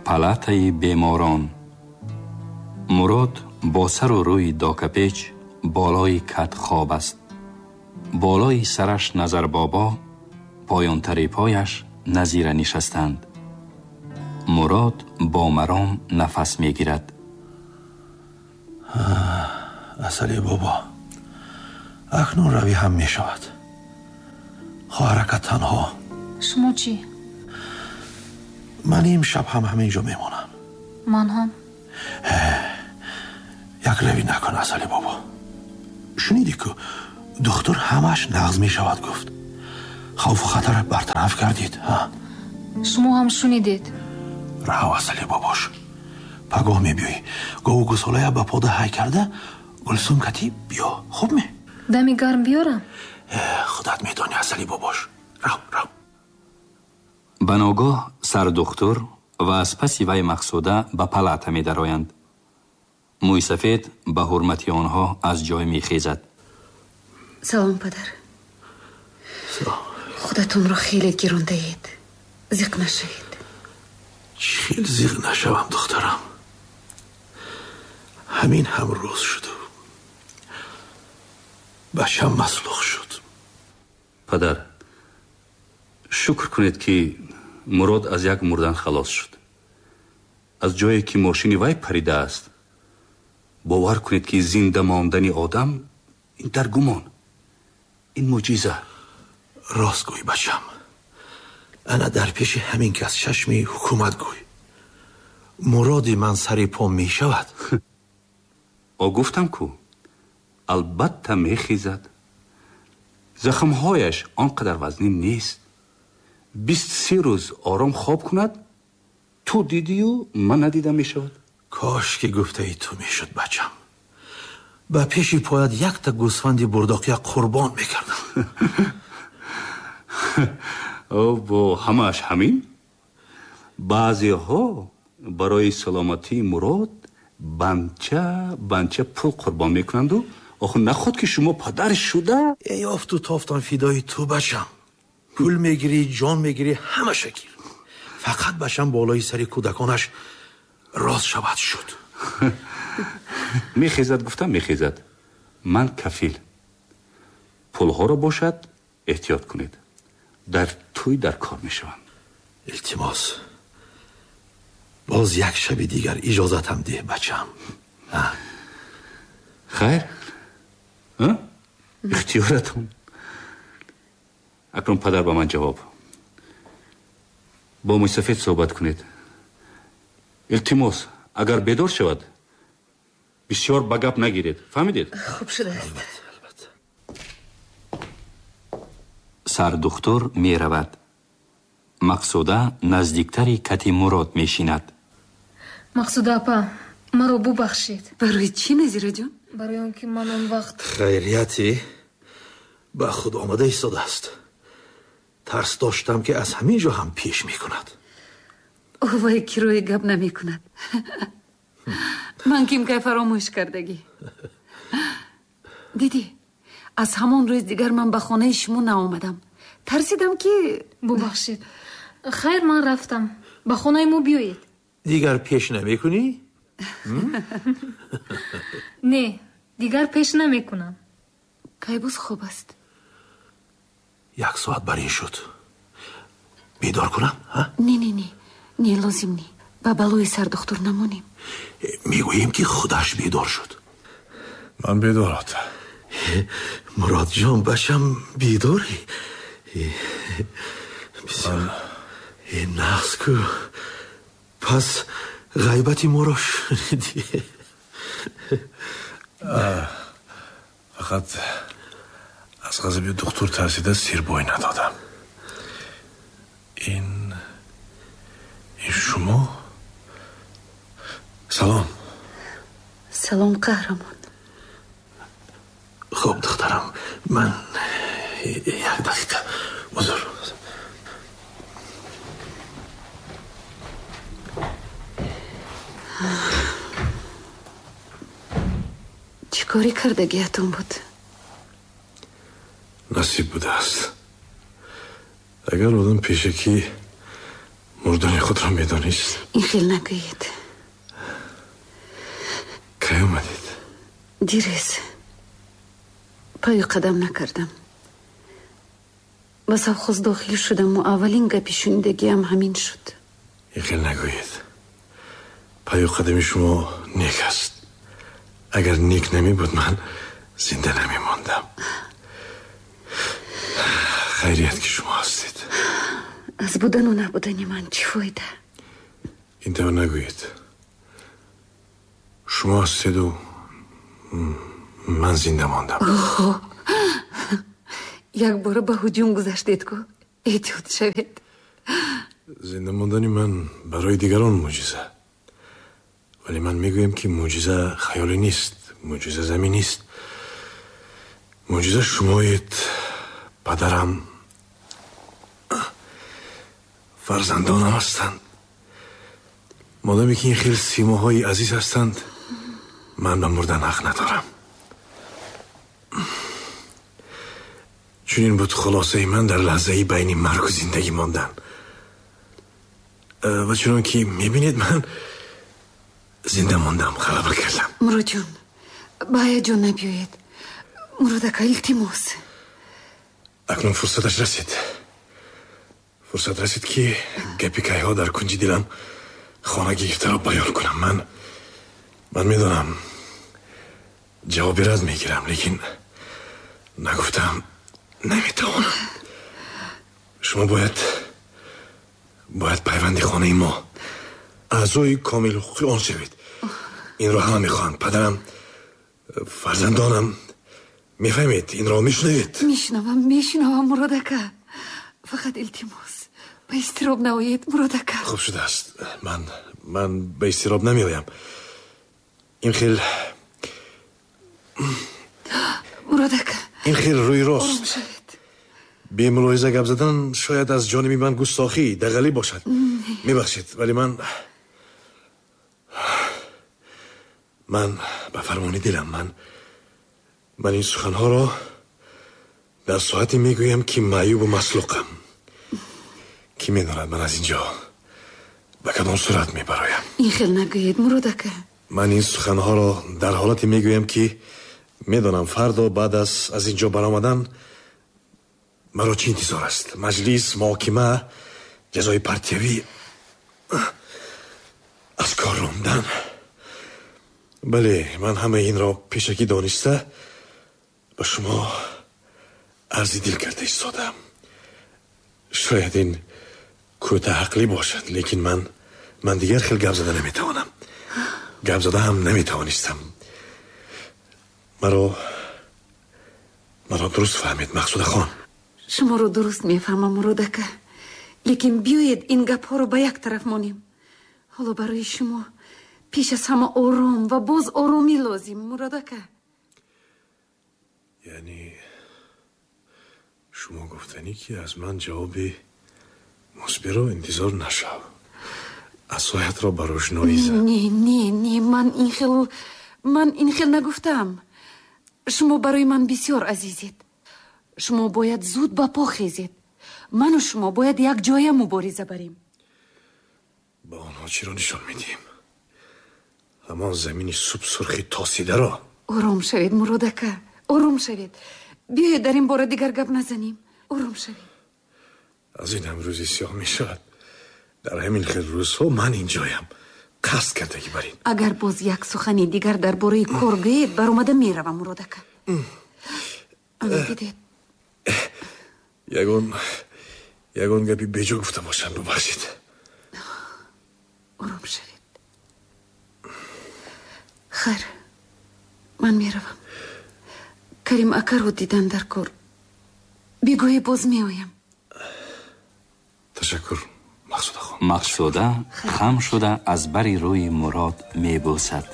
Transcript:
Палатаи беморон. Мурод бо сару рӯи докапеч болои кат хоб аст. Болои сараш Назарбобо, поёнтари пояш Назира нишастанд. Мурод бо маром нафас мегирад. Асали бобо, акнун равӣ ҳам мешавад. Хоҳаракат танҳо. Шумо чӣ? Ман имшаб ҳам ҳамин ҷо мемонам. Ман ҳам. Як равӣ накун, Асали бобо. Шунидӣ ку духтур ҳамаш нағз мешавад гуфт. Хавфу хатар бартараф кардид. Шумо ҳам шунидед. Раҳав, Асали бобош. Пагоҳ мебиёӣ. Гову гусолая ба пода ҳай карда Гулсум кати биё. Хуб ме? Дами гарм биёрам? Худат медонӣ, Асали бобош. Рав, рав. Ба ногоҳ сардухтур ва аз паси вай Мақсуда ба палата медароянд. Мӯйсафед ба ҳурмати онҳо аз ҷой мехезад. Салом, падар. Худатонро хеле гирондаед. Зиқ нашавед. Чӣ хел зиқ нашавам, духтарам? Ҳамин ҳам рӯз шуду бачам маслух шуд. Падар, шукр кунед, ки Мурод аз як мурдан халос шуд. Аз ҷое ки мошини вай паридааст, бовар кунед, ки зинда мондани одам ин дар гумон, ин мӯъҷиза. Рост гӯй, бачам. Ана дар пеши ҳамин кас чашми ҳукумат гӯй. Муроди ман сари по мешавад. О, гуфтам ку, албатта мехезад. Захмҳояш он қадар вазнин нест. 23 рӯз ором хоб кунад, ту дидию ман надида мешавад. Кош ки гуфтаи ту мешуд, бачам. Ба пеши поят якта гӯсфанди бурдоқия қурбон мекардам. Бо ҳамааш ҳамин? Баъзеҳо барои саломатии Мурод банча банча пул қурбон мекунанду охир наход ки шумо падар шуда. Эй, офту тофтан фидои ту, бачам. Пул мегирӣ, ҷон мегирӣ, ҳамаша гир. Фақат бачам болои сари кӯдаконаш рост шавад шуд. Мехезад, гуфтам, мехезад. Ман кафил. Пулҳоро бошад эҳтиёт кунед. Дар тӯй дар кор мешаванд. Илтимос, боз як шаби дигар иҷозатам деҳ, бачам. Хайр, ихтиёратон. Акнун, падар, ба ман ҷавоб. Бо мӯйсафед суҳбат кунед. Илтимос, агар бедор шавад, бисёр ба гап нагиред. Фаҳмидед? Хуб шудааст. Сардухтур меравад. Мақсуда наздиктари кати Мурод мешинад. Мақсуда апа, маро бубахшед. Барои чӣ, Назираҷон? Барои он ки ман он вақт. Хайрияте ба худ омада истодааст. Тарс доштам, ки аз ҳамин ҷо ҳам пеш мекунад. Вай кирои гап намекунад. Ман ким кай фаромӯш кардагӣ. Дидӣ, аз ҳамон рӯз дигар ман ба хонаи шумо наомадам. Тарсидам, ки. Бубахшед. Хайр, ман рафтам. Ба хонаи мо биёед. Дигар пеш намекунӣ? Не, дигар пеш намекунам. Кай боз хоб аст? Як соат бар ин шуд. Бедор кунам? Не, не, не, не, лозим не. Ба балои сардухтур намонем. Мегӯем, ки худаш бедор шуд. Ман бедор, ота. Муродҷон, бачам, бедорӣ? Нағз ку. Пас ғайбати моро шунидӣ? Фақат аз ғазаби духтур тарсида сирбой надодам. Ин шумо? Салом. Салом, қаҳрамон. Хуб, духтарам, ман як дақиқа, узр. Чӣ корӣ кардагиятон буд? Насиб будааст. Агар одам пешакӣ Мурдани худро медонист. Ин хел нагӯед. Кай омадед? Дирӯз. Пою қадам накардам. Ба совхоз дохил шудаму аввалин гапи шунидагиам ҳамин шуд. Ин хел нагӯед. Пою қадами шумо нек аст. Агар нек намебуд, ман зинда намемондам. Хайрият ки шумо ҳастед. Аз будану набудани ман чӣ фоида? Ин тавр нагӯед. Шумо ҳастеду ман зинда мондам. Якбора ба ҳуҷум гузаштед ку, эҳтиёт шавед. Зинда мондани ман барои дигарон мӯъҷиза. Вале ман мегӯям, ки мӯъҷиза хаёлӣ нест, мӯъҷиза заминист. Мӯъҷиза шумоед, падарам, фарзандонам ҳастанд. Модоме ки ин хел симоҳои азиз ҳастанд, ман ба мурдан ҳақ надорам. Чунин буд хулосаи ман дар лаҳзаи байни маргу зиндагӣ мондан. Ва чунон ки мебинед, ман зинда мондам, ғалаба кардам. Муродҷон, ба ҳаяҷон набиёед. Мурод ака, илтимос. Акнун фурсаташ расид. Фурсат расид, ки гапи кайҳо дар кунҷи дилам хона гирифтаро баён кунам. Ман медонам, ҷавоби рад мегирам, лекин нагуфтам наметавонам. Шумо бояд пайванди хонаи мо, аъзои комилҳуқуқи он шавед. Инро ҳама мехоҳанд. Падарам, фарзандонам. Мефаҳмед, инро мешунавед? Мешунавам, мешунавам, Мурод ака. Фақат илтимос, ба изтироб наоед, Мурод ака. Хуб шудааст. Ман ба изтироб намеоям. Ин хел Мурод ака, ин хел рӯи рост ором шавед. Бемулоҳиза гап задан шояд аз ҷониби ман густохӣ, дағалӣ бошад. Мебахшед, вале ман ба фармони дилам, ман ин суханҳоро дар соате мегӯям, ки маъюбу маслуқам. Кӣ медонад, ман аз ин ҷо ба кадом сурат мебароям. Ин хел нагӯед, Мурод ака. Ман ин суханҳоро дар ҳолате мегӯям, ки медонам фардо баъд аз ин ҷо баромадан маро чӣ интизор аст. Маҷлис, муҳокима, ҷазои партиявӣ, аз кор рондан. Бале, ман ҳамаи инро пешакӣ дониста ба шумо арзи дил карда истодам. Шояд ин кӯтаҳақлӣ бошад, лекин ман дигар хел гап зада наметавонам. Гап зада ҳам наметавонистам. Маро дуруст фаҳмед, Мақсудахон. Шуморо дуруст мефаҳмам, Мурод ака. Лекин биёед ин гапҳоро ба як тараф монем. Ҳоло барои шумо пеш аз ҳама ором ва боз оромӣ лозим, Мурод ака. Яъне шумо гуфтанӣ, ки аз ман ҷавоби мусбиро интизор нашав, асоятро ба рӯшноӣ зад? Не, не, не, ман ин хел нагуфтам. Шумо барои ман бисёр азизед. Шумо бояд зуд ба по хезед. Ману шумо бояд якҷоя мубориза барем. Ба онҳо чиро нишон медиҳем? Ҳамон замини субсурхи тосидаро? Ором шавед, Мурод ака, ором шавед. Биёед дар ин бора дигар гап назанем. Ором шавед. Аз ин ҳам рӯзи сиёҳ мешавад. Дар ҳамин хел рӯзҳо ман инҷоям. Қасд кардагӣ бар ин. Агар боз як сухани дигар дар бораи кор гӯед, баромада меравам, Мурод ака. Ана дидед. Ягон гапи беҷо гуфта бошам, бубахшед. Ором шавед. Хайр, ман меравам. Карим акаро дидан дар кор. Бегоҳе боз меоям. Ташаккур, Мақсудахон. Мақсуда хам шуда аз бари рӯи Мурод мебӯсад.